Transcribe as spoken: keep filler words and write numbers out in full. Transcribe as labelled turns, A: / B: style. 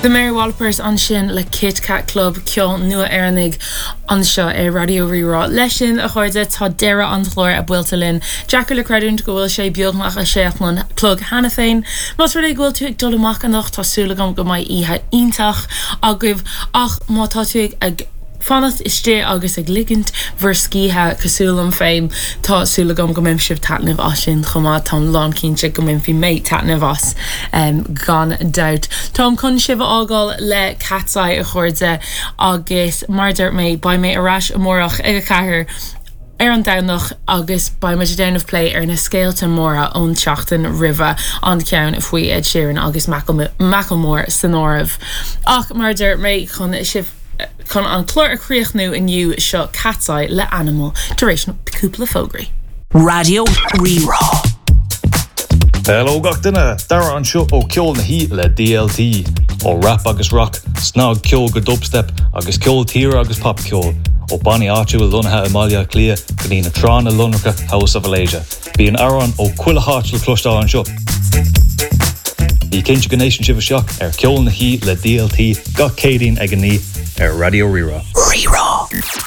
A: The Mary Wallopers ansin le Kit Kat Club ceol nua Éireannach anseo ar Raidió Rí-Rá. Leis sin a chairde tá deireadh an chláir buailte linn. Deacair le creidiúint go bhfuil sé beagnach a sé an chlog cheana féin. Más rud é go bhfuil tú ag dul amach anocht tá súil agam go mbeidh oíche iontach agaibh ach má tá tú ag fanacht istigh agus ag ligint bhur scíthe cosúil liom féin tá súil agam go mbainfidh sibh taitneamh as sin chomh maith táim lánchinnte go mbainfidh mé taitneamh as um, gan dabht. Táim chun sibh a fhágáil le Katseye a chairde agus mar dúirt mé beidh mé ar ais amárach ag a ceathair ar an Domhnach agus beidh muid ag déanamh plé ar na scéalta móra ón tseachtain roimhe an ceann faoi Ed Sheeran agus Macklemore san áireamh. Ach mar dúirt mé chun sibh chun an clár a chríochnú inniu seo Katseye le Animal tar éis cúpla fógraí.
B: Raidió Rí-Rá.
C: Hello gach duine Dara anseo ó Ceol na hOíche le DLT ó rap agus rock, snagcheol go dubstep agus ceol tíre agus popcheol ó bannaí áitiúla lonnaithe i mBaile Átha Cliath go dtí na tránna lonracha House of Alasia. Bíonn amhráin ó chuile áit le cloisteáil anseo. Bí cinnte go n-éisteann sibh isteach ar Ceol na hOíche le DLT gach Céadaoin ag a naoi ar Raidió Rí-Rá.
B: Rí-Rá.